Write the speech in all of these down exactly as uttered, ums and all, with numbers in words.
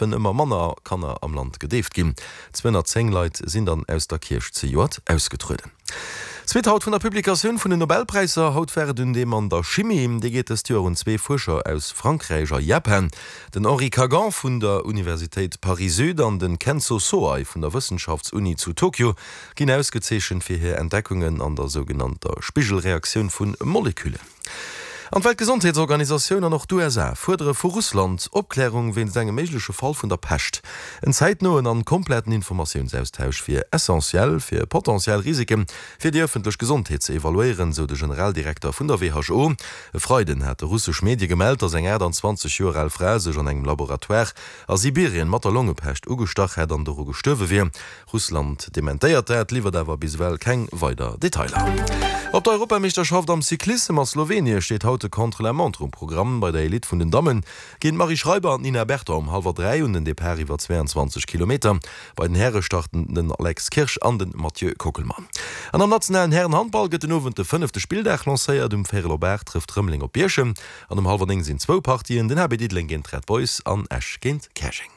géifen ëmmer manner Kanner am Land gedeeft ginn. Zweehonnertzéng Leit sinn dann aus der Kierch zejoert ausgetrueden. Zweet haut vun der Publikatioun vun den Nobelpräisser. Haut war et un deem an der Chimie. Dee geet dëst Joer un zwee Fuerscher aus Frankräich a Japan, den Henri Kagan vun der Universitéit Paris-Sud an den Kenzo Soai vun der Wëssenschaftsuni zu Tokio ginn ausgezeechent fir hir Entdeckungen an der sougenannter Spigelreaktioun vu Moleküllen. An d'Weltgesondheetsorganisatioun an och d'U S A fuerdere vu Russland Opklärung wéinst engem méigleche Fall vun der Pescht. En zäitnoen an kompletten Informatiounsaustausch wier essentiell, fir potentiell Risike fir déi ëffentlech Gesondheet ze evaluéieren, sou de Generaldirekter vun der W H O. E Freiden hate russesch Medie gemellt, datt eng achtundzwanzeg Joer al Fra sech an engem Laboratoire a Sibirien mat der Longepescht ugestach hätt an doru gestuerwe wier. Russland dementéiert dat, liwwert awer bis ewell keng weider Detailer. Op der Europameeschterschaft am Cyclissem a Slowenien steet haut de Contre-la-montre um Programm. Bei der Elite vun den Dammen ginn d'Marie Schreiber an d'Nina Berton um hallwer dräi un den Depart iwwer zweiundzwanzeg Kilometer. Bei den Häre starten den Alex Kirsch an den Mathieu Kockelmann. An am nationalen Härenhandball gëtt den Owend de fënnefte Spilldag lancéiert. Um Véierel op aacht trëfft Rëmeleng op Bierchem an um hallwer néng sinn zwou Partien, den H B Diddeleng géint d'Red Boys an Esch géint Käerjeng.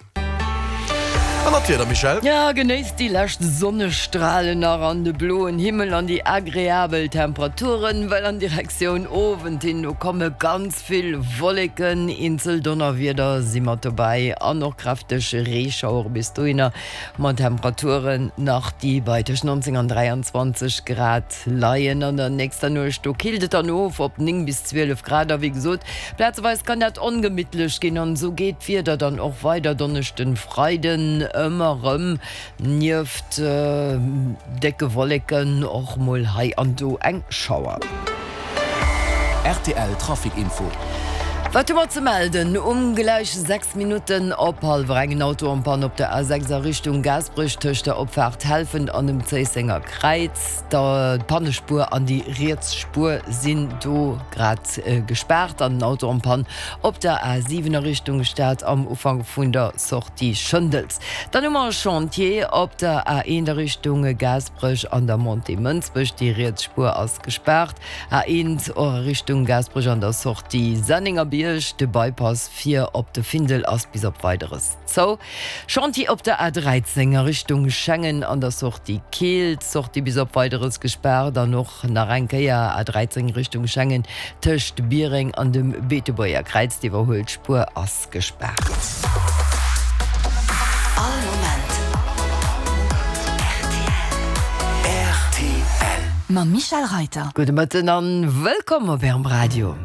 An dat Wieder, Michèle? Ja, genéisst déi lescht Sonnestralen nach an de bloen Himmel an déi agreabel Temperaturen, well an Direktioun Owend hin, do komme ganz vill Wolleken, eenzel Donnerwieder si mat dobäi an och kräfteg Reeschauere. Bis dohinner mat Temperaturen nach, déi bei tëscht neunzéng an dräianzwanzeg Grad leien. An der nächster Nuecht, do killt et dann of op néng bis zwielef Grad a wéi gesot, plazeweis kann dat ongemittlech ginn an esou geet d'Wieder dann och weider Donneschden, Freiden ëmmer erëm nieft décke Wolleken och mol hei an do eng Schauer. R T L Trafic Info. Wat hu mer ze melden? Um gläich sechs Minutten op hallwer eng en Auto en panne op der A sechs a Richtung Gaasperech tëscht der Opfaart Helfent an dem Zéissenger Kräiz. D'Pannespuer an déi riets Spuer sinn do grad gespaart an den Auto en panne op der A siwen a Richtung Stad am Ufank vun der Sortie Schëndels. Dann hu mer e Chantier op der A eent a Richtung Gaasperech an der Montée Mënsbech. Déi riets Spuer ass gespaart. A eent och a Richtung Gaasperech an der Sortie Sennengerbierg. De Bypass fir op de Findel ass bis op Weideres zou. Chantier op der A dräizéng a Richtung Schengen an der Sortie Keel. D'Sortie bis op Weideres gespaart an och nach eng Kéier A dräizéng Richtung Schengen tëscht Biereng an dem Beetebuerger Kräiz. D'Iwwerhuelspuer ass gespaart. All Moment R T L. Mam Michèle Reiter. Gudde Mëtten an wëllkomm op Ärem Radio.